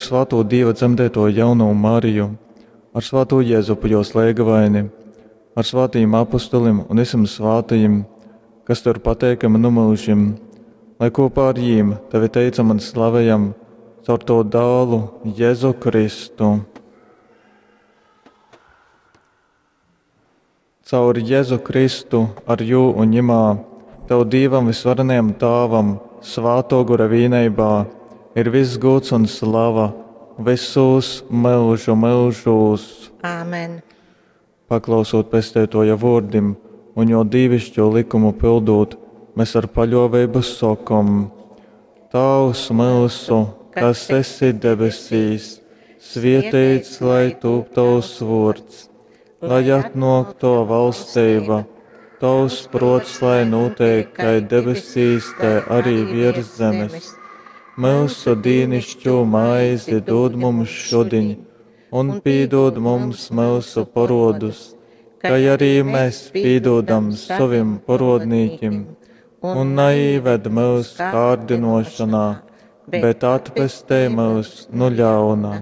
svātū Dīva dzemdētoju jaunovu Mariju, ar svātū Jezupu jos leigavaini, ar svātajim apustulim un visiem svātajim, kas tev ir pateikami nu mūžim, lai kopā ar jīm tevi teicam un slavējam caur to dālu Jēzu Kristu. Caur Jēzu Kristu, ar jū un ņemā, tev Dīvam visvarenajam Tāvam, svāto gura vīneibā, ir viss gods un slava visos mūžu mūžos. Āmen. Paklausot pestētoja vārdim un jo dīvišķo likumu pildot, mēs ar paļāvību sakam: Tēvs mūsu, kas esi debesīs, svētīts lai tūp tavs vārds, lai atnāk tava valstība, tavs prots, lai notiek kai debesīs, tai arī virs zemes. Mūsu dīnišķo maizi dod mums šodien, un pīdod mums mūsu parodus, kā arī mēs pīdodam saviem parodnīkim, un neīved mūsu kārdinošanā, bet atpestē mūs no ļauna.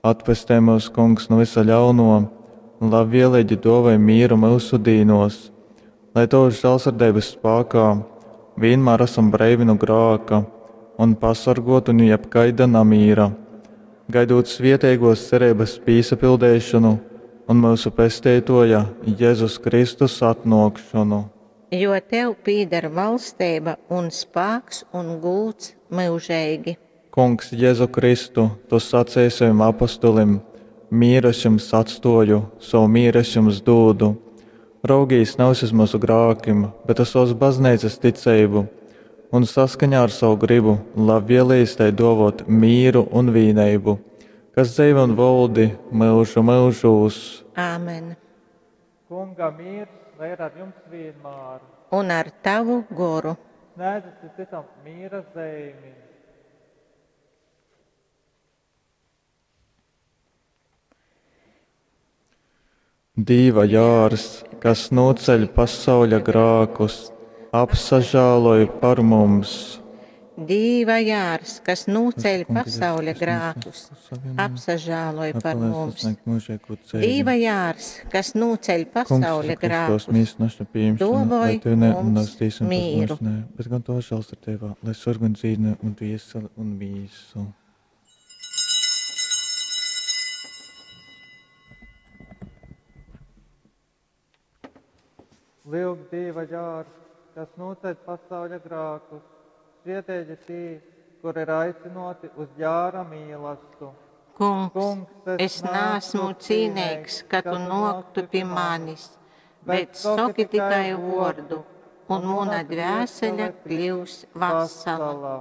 Atpestē mūs, kungs, no visa ļauno, un labvēlīgi dovai mīru mūsu dīnos, lai tavas žēlsirdības spēkā vienmēr esam breivi no grāka un pasargoti no jebkaida namīra, gaidot svietēgos cerības pīsapildēšanu un mūsu pestītoja Jēzus Kristus atnākšanu. Jo tev pīdar valstība un spēks un gūts mūžīgi. Kungs, Jēzu Kristu, tu sacīji saviem apustulim: Mieru es jums atstoju, savu mieru es jums dodu. Raugīs nevis uz mūsu grākim, bet uz savas baznīcas ticību, un saskaņā ar savu gribu labvēlīs tai dovot mīru un vīneibu, kas dzīvo un valdi mūžu mūžos. Āmen. Kunga miers, lai ir ar jums vienmēr. Un ar tavu goru. Sniedzat citam miera zīmi. Dīva jārs, kas noceļ pasauļa grākus, apsažāloj par mums. Dīva jārs, kas nūceļ pasauļa grākus, apsažāloj par mums. Dīva jārs, kas nūceļ pasauļa grākus, dovoj mums mīru. Bet gan to žēlsirdībā, lai sarg un dzīvne un dvieseli un mīsu. Lūk, Dieva jārs, kas noceļ pasauļa grākus, svietēji tī, kur ir aicinoti uz jāra mīlastu. Kungs, es neesmu cīnīgs, ka tu noktu pie manis, bet saki tikai vārdu, un mana dvēsele kļūs vesela.